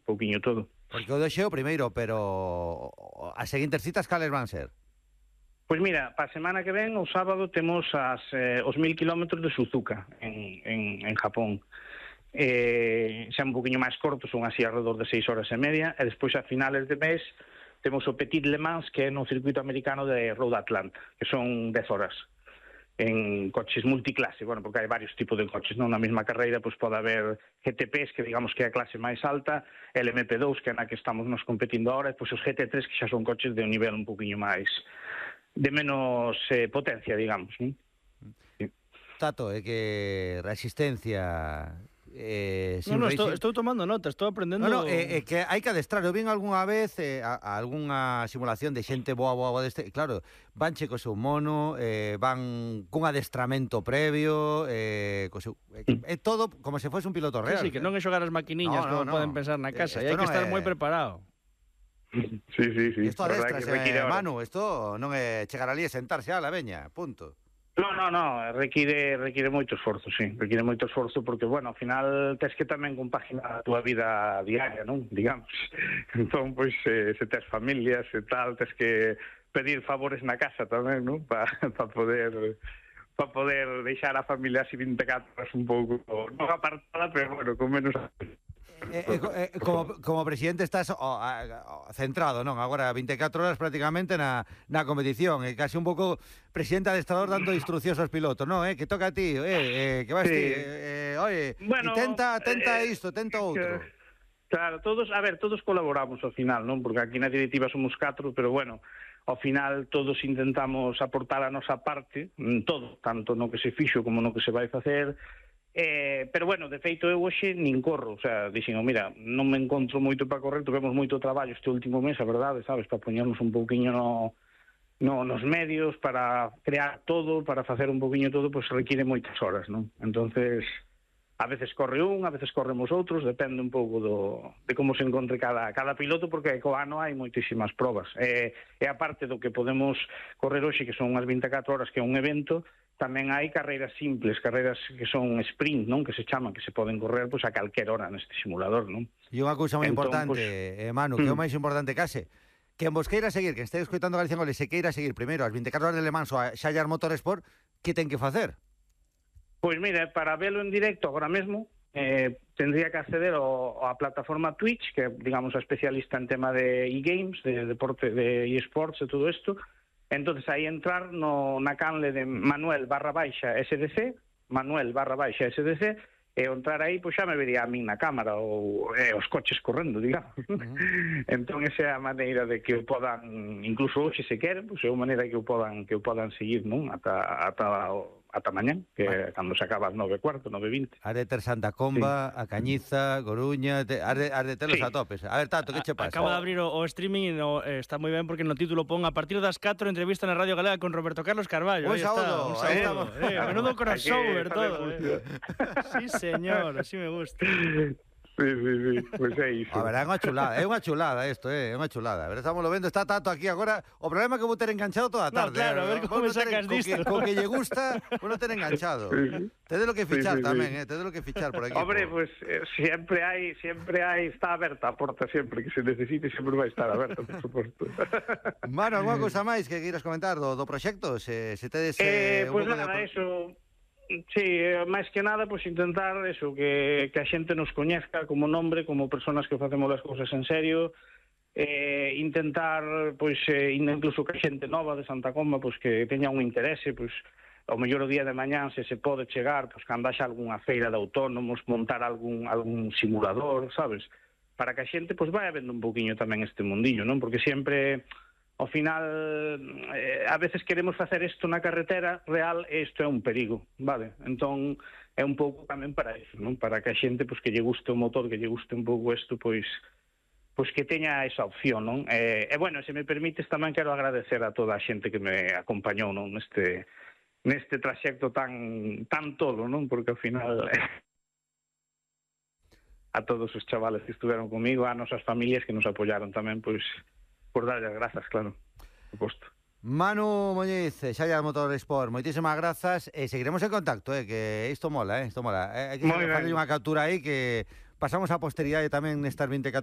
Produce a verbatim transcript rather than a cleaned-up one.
pouquiño todo. Porque o doxe o primeiro, pero as seguintes citas cales van ser? Pois mira, para a semana que ven, o sábado, temos as, eh, os mil kilómetros de Suzuka, en, en, en Japón. Eh, xa un poquinho máis corto, son así alrededor de seis horas e media, e despois a finales de mes temos o Petit Le Mans, que é no circuito americano de Road Atlanta, que son dez horas en coches multiclase, bueno, porque hai varios tipos de coches, non? Na mesma carreira pois pode haber G T Ps, que digamos que é a clase máis alta, el M P dous, que é na que estamos nos competindo ahora, e pois os G T tres, que xa son coches de un nivel un poquinho máis, de menos eh, potencia, digamos, non? Sí. Tato, é que resistencia... Eh, no, no, estou, estou tomando nota, estou aprendendo... No, no, é eh, eh, que hai que adestrar. Eu vin algunha vez eh, a, a algunha simulación de xente boa, boa, boa deste... Claro, van che co seu mono, eh, van cun adestramento previo, eh, co seu... É eh, todo como se fose un piloto real. Sí, sí, que non é xogar as maquiniñas, no, no, como no. Poden pensar na casa, e hai que estar é... moi preparado. Sí, sí, sí. Isto adestrase, eh, Manu, isto non é chegar ali e sentarse a la veña, punto. No, no, no, require require moito esforzo, sí, require moito esforzo porque, bueno, ao final tes que tamén compaginar a túa vida diaria, non? Digamos. Entón, pois, eh, se tes familias e tal, tes que pedir favores na casa tamén, non? Para pa poder para poder deixar a familia así vinte e catro horas un pouco, non apartada, pero, bueno, con menos... Eh, eh, eh, como, como presidente estás oh, oh, centrado, non? Agora vinte e catro horas prácticamente na, na competición, e casi un pouco presidente adestrador dando instruccións aos pilotos, non? Eh? Que toca a ti, eh, eh, que vas sí. ti, eh, oye, bueno, tenta, tenta eh, isto, tenta outro. Claro, todos, a ver, todos colaboramos ao final, non? Porque aquí na directiva somos catro, pero bueno, ao final todos intentamos aportar a nosa parte, todo, tanto no que se fixo como no que se vai facer. Eh, pero bueno, de feito eu hoxe nin corro, o sea, dixen, mira, non me encontro moito para correr, tivemos moito traballo este último mes, a verdade, sabes, para poñernos un pouquiño no, no, nos medios, para crear todo, para facer un pouquiño todo, pois pues, require moitas horas, non? Entonces, a veces corre un, a veces corremos outros, depende un pouco do, de como se encontre cada, cada piloto, porque co ano hai moitísimas probas. E, e aparte do que podemos correr hoxe, que son unhas vinte e catro horas, que é un evento, tamén hai carreiras simples, carreiras que son sprint, non? Que se chaman, que se poden correr pois, a calquer hora neste simulador, non? E unha cousa moi entón, importante, pues, eh, Manu, que é o máis importante case, que en vos queira seguir, que este escoitando Galicia en Goles, se queira seguir primeiro as vinte e catro horas de Le Mans ou a Xallar Motorsport, que ten que facer? Pois mira, para velo en directo agora mesmo, eh, tendría que acceder ao, á plataforma Twitch, que é, digamos, a especialista en tema de e-games, de deporte, de e-sports e todo isto. Entonces aí entrar no, na canle de Manuel barra baixa S D C, Manuel barra baixa S D C, e entrar aí, pois xa me vería a min na cámara, ou eh, os coches correndo, digamos. Uh-huh. Entón, esa é a maneira de que o podan, incluso hoxe se queren, pois é a maneira que o podan, que o podan seguir, non? Ata, ata o ata mañán, que é cando se acaba as nove e cuarto, nove e vinte. Has de ter Santa Comba, sí. A Cañiza, Coruña, te, has, de, has de telos sí. A topes. A ver, Tato, que che pasa? Acaba de abrir o, o streaming e no, eh, está moi ben porque no título pon a partir das catro entrevista na Radio Galega con Roberto Carlos Carballo. Un saúdo. Un saúdo. Eh, eh, menudo crossover todo. Eh. Sí, señor, así me gusta. Sí, sí, sí, pois é iso. A ver, é unha chulada, é unha chulada isto, é unha chulada. A ver, estamos lo vendo, está Tato aquí agora. O problema é que vou ter enganchado toda a tarde. No, claro, a ver como me sacas disto. Co que lle gusta, vou non ter enganchado. Sí. Tede lo que fichar sí, sí, tamén, sí. eh, tede lo que fichar por aquí. Hombre, pues eh, siempre hai, siempre hai, está aberta a porta sempre que se necesite, sempre vai estar aberta, por suposto. Mano, alguna cousa máis que queiras comentar do, do proxecto? Se, se tedes eh, eh, un pues nada, de... eso... Sí, máis que nada, pois pues, intentar eso, que, que a xente nos coñezca como nombre, como personas que facemos as cousas en serio, eh, intentar, pois, eh, incluso que a xente nova de Santa Comba, pois, que teña un interese, pois, ao mellor o día de mañán, se se pode chegar, pois, cando haxa algunha feira de autónomos, montar algún, algún simulador, sabes? Para que a xente, pois, vai vendo un poquinho tamén este mundillo, non? Porque sempre... Ao final, eh, a veces queremos facer isto na carretera real e isto é un perigo, vale? Entón, é un pouco tamén para iso, non? Para que a xente, pois, que lle guste o motor, que lle guste un pouco isto, pois, pois que teña esa opción, non? E, e bueno, se me permites, tamén quero agradecer a toda a xente que me acompañou, non? Neste, neste traxecto tan, tan tolo, non? Porque ao final... a todos os chavales que estuveron comigo, a nosas familias que nos apoyaron tamén, pois... por darlle as grazas, claro, por suposto. Manu Muñiz, Xallar Motorsport, moitísimas grazas e seguiremos en contacto, eh, que isto mola, eh, isto mola. Eh, hai que facer unha captura aí que pasamos a posteridade tamén nestas vinte e catro